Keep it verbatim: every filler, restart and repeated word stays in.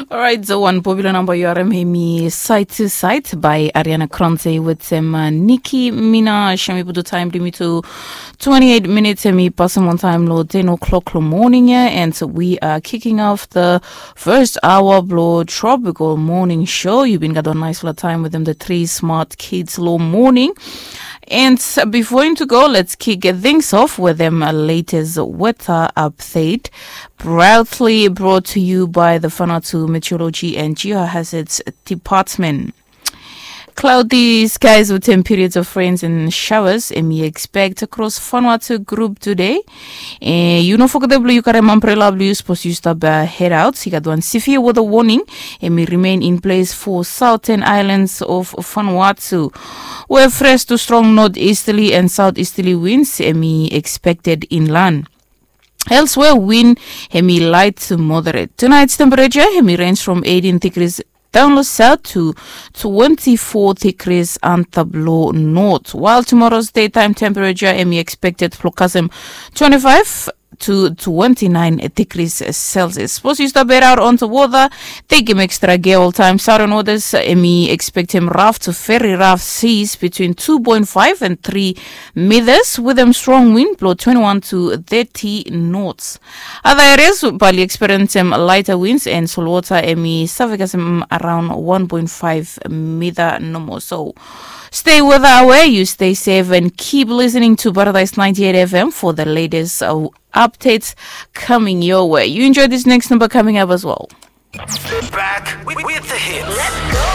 Orait, so wan popular number yu harim hemi Side to Side by Ariana Grande wetem uh, Nicki Minaj. Hemi putu taem blong yumi to twenty-eight minutes, hemi pasem wan taem lo ten o'clock lo morning ia, and we are kicking off the first hour blo Tropical Morning Show. Yu bin gat wan nice la taem wetem the three smart kids lo morning. And before him to go, let's kick things off with them latest weather update. Proudly brought to you by the Vanuatu Meteorology and Geohazards Department. Cloudy skies with some periods of rains and showers, and we expect across Vanuatu group today. Eh, yu no foget blong yu karim umbrella blong yu sapos yu stap uh, head out. I gat wan severe weather warning, and we remain in place for southern islands of Vanuatu, where fresh to strong northeasterly and southeasterly winds, and we expected inland. Elsewhere, wind hemi light to moderate. Tonight's temperature hemi range from eighteen degrees down lo south to twenty-four degrees antap lo north. While tomorrow's daytime temperature hemi expected blo kasem twenty-five to twenty-nine degrees Celsius. Sapos yu stap head out onto water, tekem extra gear oltaem. Southern waters hemi expectem rough to very rough seas between two point five and three meters with a strong wind blow twenty-one to thirty knots. Other areas bali experiencem lighter winds and solwater hemi save kasem around one point five meter nomo. So stay weather aware, you stay safe and keep listening to Paradise ninety-eight F M for the latest uh, updates coming your way. You enjoy this next number coming up as well. Back with, with the hits.